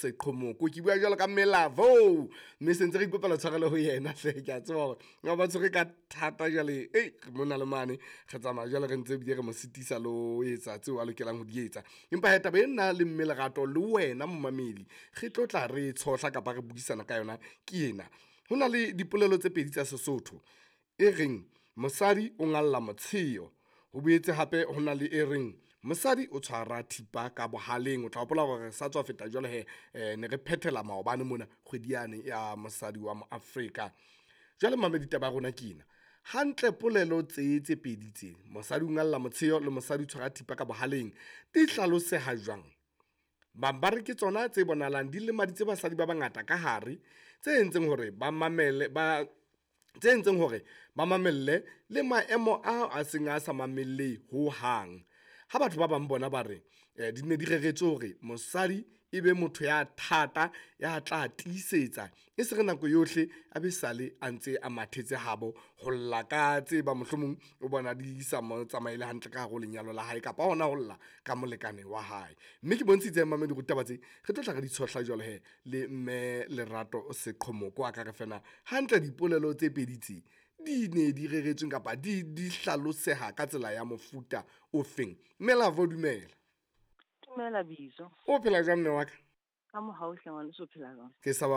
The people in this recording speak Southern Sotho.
Seqhomoko. Ke bua jwalo ka mme Lavo, mme sentse re ikopela tshwarelo ho yena hle. Ke a tseba hore ba ba tshwere ka thata jwale, ei mona le mane re tsamaya jwale re ntse ebile re mo sitisa le ho etsa tseo a lokelang ho di etsa. Empa hee taba e nna le mme Lerato le wena momamedi re tlo tla re tshohla kapa re buisana ka yona ke ena. Ho na le dipolelo tse pedi tsa Sesotho e reng mosadi o ngalla motsheo, ho boetse hape ho na le e reng mosadi o tshwara thipa ka bohaleng. O tla hopola hore re sa tswa feta jwale he, ne re phethela maobane mona kgwedi yane ya mosadi wa mo Afrika. Jwale momamedi taba ya rona ke ena, hantle polelo tse tse pedi tse, mosadi o ngalla motsheo le mosadi o tshwara thipa ka bohaleng, di hlaloseha jwang? Bang ba re ke tsona tse bonahalang di lemaditse basadi ba bangata ka hare, tse entseng hore ba mamele ba tse entseng hore ba mamelle le maemo ao a seng a sa mamellehe hohang. Ha batho ba bang bona ba re di ne di reretswe hore mosadi e be motho ya thata, ya tla tiisetsa e se re nako yohle a be sale a ntse a mathetse habo ho lla ka tse bang mohlomong o bona di sa mo tsamaele hantle ka hare ho lenyalo la hae, kapa hona ho lla ka molekane wa hae. Mme ke bontshitse momamedi hore taba tse re tlo tla re di tshohla jwale hee le mme Lerato Seqhomoko a ka re fena hantle dipolelo tse pedi tse di ne di reretsweng kapa di hlaloseha ka tsela ya mofuta o feng. Mme Lavo dumela. Dumela Bizo. O phela jwang mme wa ka? Ka mohau hle ngwaneso, o phela jwang? Ke sa.